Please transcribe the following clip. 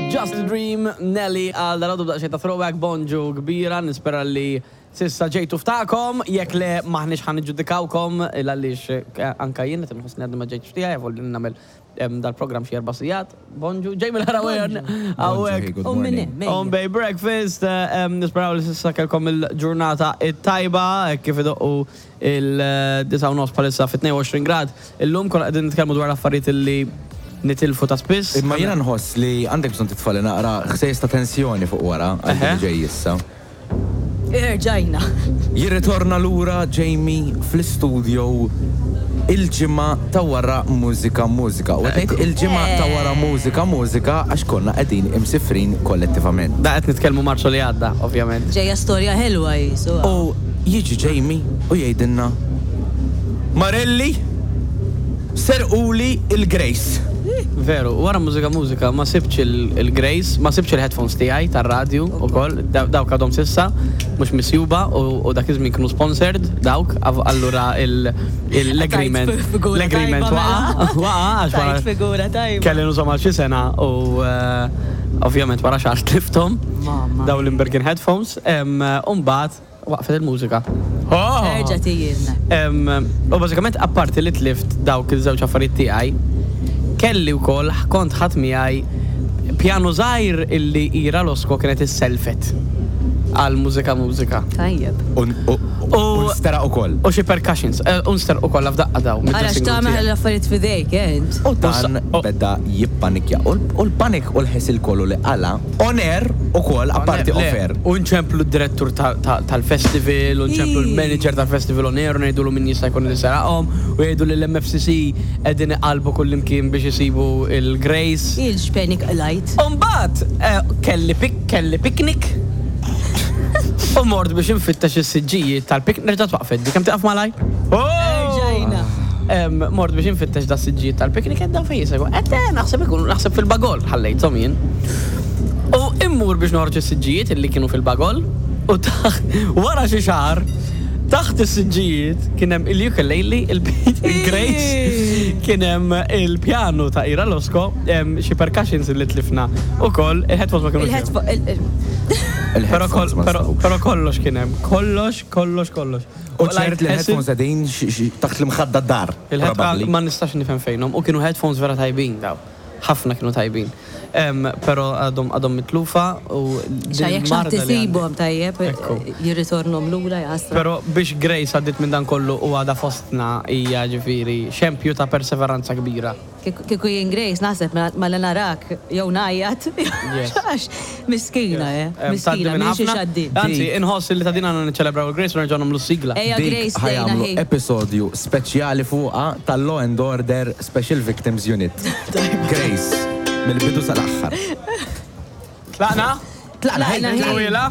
Just a Dream, Nelly għal dal-għodu b'daqsxejn ta' throwback bonġu kbira, nispera li s'issa ġejtu f'tagħkom, jekk le m'aħniex ħa niġġudikawkom il għaliex anka jien qed inħossni għadni ma ġejtx f'tiegħi avolja nagħmel dal-programm xi erba' sigħat. Bonġu, Jamie L-Ħarawen hawnhekk. Bonġu, good morning. On Bay Breakfast, nisperaw li s'issa kellkom il-ġurnata it-tajba hekk kif idoqqu Il-disgħa u nofs bħalissa fi 22 grad. Illum konna qegħdin nitkellmu dwar affarijiet illi nitilfu ta' spiss. Imma jiena nħoss li għandek bżonn titfagħli naqra ħsejjes ta' tensjoni fuq wara għal dak li ġej issa. Erġajna. Jirritorna lura Jamie fl-istudio il-ġimgħa ta' wara Mużika Mużika. U qed ngħid il-ġimgħa ta' wara Mużika Mużika għax konna qegħdin imsifrin kollettivament. Da qed nitkellmu Marzu li għadda, ovvjament. Ġejja storja ħelwa qisu. U jiġi Jamie u jgħidilna, Marelli, serquli l-Grace. Veru, wara Mużika Mużika ma sibtx il-Grace, ma sibtx il-headphones tiegħi tar-radju ukoll, dawk għadhom s'issa mhux misjuba u dak iż-żmien kienu sponsored dawk, allura l-agreement l-agreement waqa' waqa' għax wara kelli nużhom għal xi sena u ovvjament wara xahar tlifthom dawn l-Imberkin headphones u mbagħad Waqfet il-mużika. Erġa' tijilna. U bażikament apparti li tlift dawk iż-żewġ affarijiet tiegħi, kelli wkoll kont ħadt miegħi pjanu żgħir illi Ira Losco kienet issellfet għal Mużika Mużika. Tajjeb. U nsteraq ukoll. U xi percussions. U nsterqu kollha f'daqqa dawn Ara mid-dressing room x'tagħmel tiegħi. l-affarijiet f'idejk, eh, int. U dan beda jippanikja. U l-panik u l-ħesil kollu li qala' On air ukoll, apparti off air. U nċemplu d-direttur tal-festival, u nċemplu l-manager tal-festival on air, u ngħidulu min jista' jkun li seraqhom, u jgħidu li l-MFCC qegħdin iqallbu kullimkien biex isibu l-Grace. Il x'panic qlajt. U mbagħad kelli kelli picnic u mort biex infittex is-siġġijiet tal-picnic, nerġa' twaqfet di, kemm tieqaf malajr? Erġajna. Mort biex infittex da siġġijiet tal-picnic qed dawn fejn jisegħu. Qed eh, naħseb ikunu naħseb fil-bagol ħallejthom jien. U immur biex noħroġ is-siġġijiet illi kienu fil-bagol u taħt wara xi xahar taħt is-siġġijiet kien hemm il-ukulele, il-Grace, kien hemm il-pjanu ta' Ira Losco, xi percussions illi tlifna ukoll, il-headphones ma kinux hemm. Però kollox kien hemm, kollox, kollox, kollox. U ċert li l-headphones qegħdin taħt l-imħadda d-dar. Probabbli. Ma nistax nifhem fejnhom. U kienu headphones vera tajbin daw. Ħafna kienu tajbin. Però għadhom għadhom mitlufa u Xa jekk xi ħadd isibhom tajjeb jirritornhom lura jaħasra. Però biex Grace għaddiet minn dan kollu u għadha fostna hija ġifieri xempju ta' perseveranza kbira. Kieku jien Grace naħseb malli narak jew ngħajjat għax miskina eh, miskina minn xiex għaddiet. Anzi, inħoss li ta' din għandna niċċelebraw il-Grace u nerġgħu nagħmlu s-sigla. Ejja Grace Dik ħa tgħinna jagħmlu hi. episodju speċjali fuqha tal-Law and Order Special Victims Unit. Grace, mill-bidu sal-aħħar. Tlaqna? Tlaqna, Tlaqna, hi. Twila?